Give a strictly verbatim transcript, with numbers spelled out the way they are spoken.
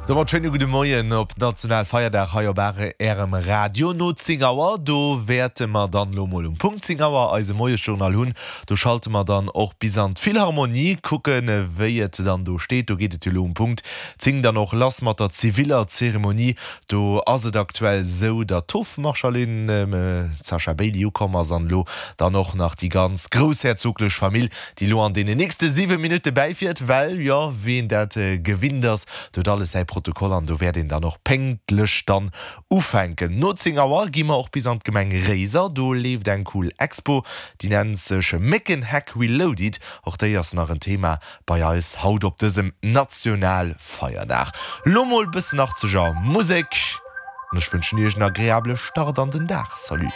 Domat schéine gudde Moien op Nationalfeierdag hei op Ärem Radio. No zéng Auer, do wäerte mer dann elo mol um Punkt zéng Auer eise Moiesjournal hunn. Do schalte mer dann och bis an d'Philharmonie, kucken, wéi et dann do steet. Do geet et jo elo um Punkt zéng dann och lass mat der ziviller Zeremonie. Do ass et aktuell esou, datt d'Hofmarschallin Sasha Bailey ukomm ass an elo dann och nach déi ganz groussherzoglech Famill, déi elo an deenen nächste siwe Minutte bäifiert, well, jo, wéi een dat gewinnt ass, do huet alles säi Protokoll an do wäert een dann och pénktlech dann ufänken. No zéng Auer gi mer och bis an d'Gemeng Réiser, do leeft eng cool Expo, déi nennt sech Méckenheck Reloaded. Och déi ass nach en Thema bei eis haut op dësem Nationalfeierdag. Lo mol bëssen achtzeger Musek an ech wënschen iech en agreabele Start an den Dag. Salut.